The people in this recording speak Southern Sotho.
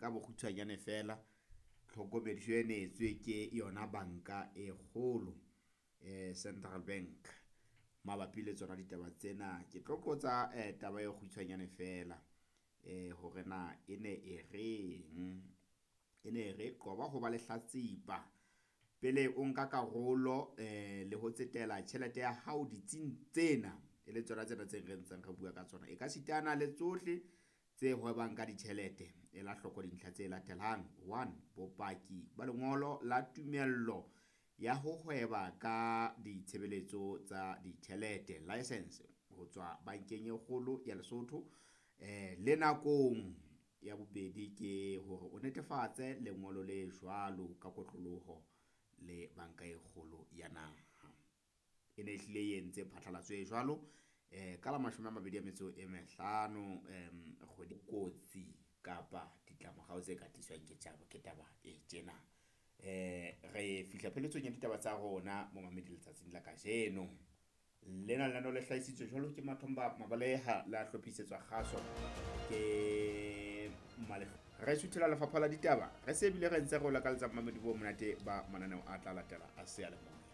ka bokgutshwanyane feela tlhokomediso e neetswe ke yona banka e kgolo Central Bank mabapi le tsona ditaba tsena. Ke tlo qotsa taba e kgutshwanyane feela hore na e ne e reng. E ne re qoba ho ba lehlatsipa pele o nka karolo le ho tsetela tjhelete ya hao ditsing tsena, e le tsona tsena tse re ntseng re bua ka tsona. E ka sitana le tsohle tse hwebang ka ditjhelete. Ela hloko dintlha tse latelang. One, bopaki ba lengolo la tumello ya ho hweba ka ditshebeletso tsa ditjhelete, license ho tswa bankeng e kgolo ya Lesotho. Le nakong ya bobedi ke hore o netefatse lengolo le jwalo ka kotloloho le banka e kgolo ya naha. E ne e hlile e entse phatlalatso e jwalo ka la 25 kgwedi kotsi kapa ditlamorao tse ka tliswang ke tjabo ke taba e tjena. Re fihla pheletsong ya ditaba tsa rona momamedi letsatsing la kajeno. Lena lenaneo le hlahisitswe jwalo ke Mathomba Mabaleha, la hlophisetswa kgaso ke Male. Re suthela lefapha la ditaba, re se bile re ntse re o lakaletsa momamedi bo monate ba mananeo a tla latela a seyalemoya.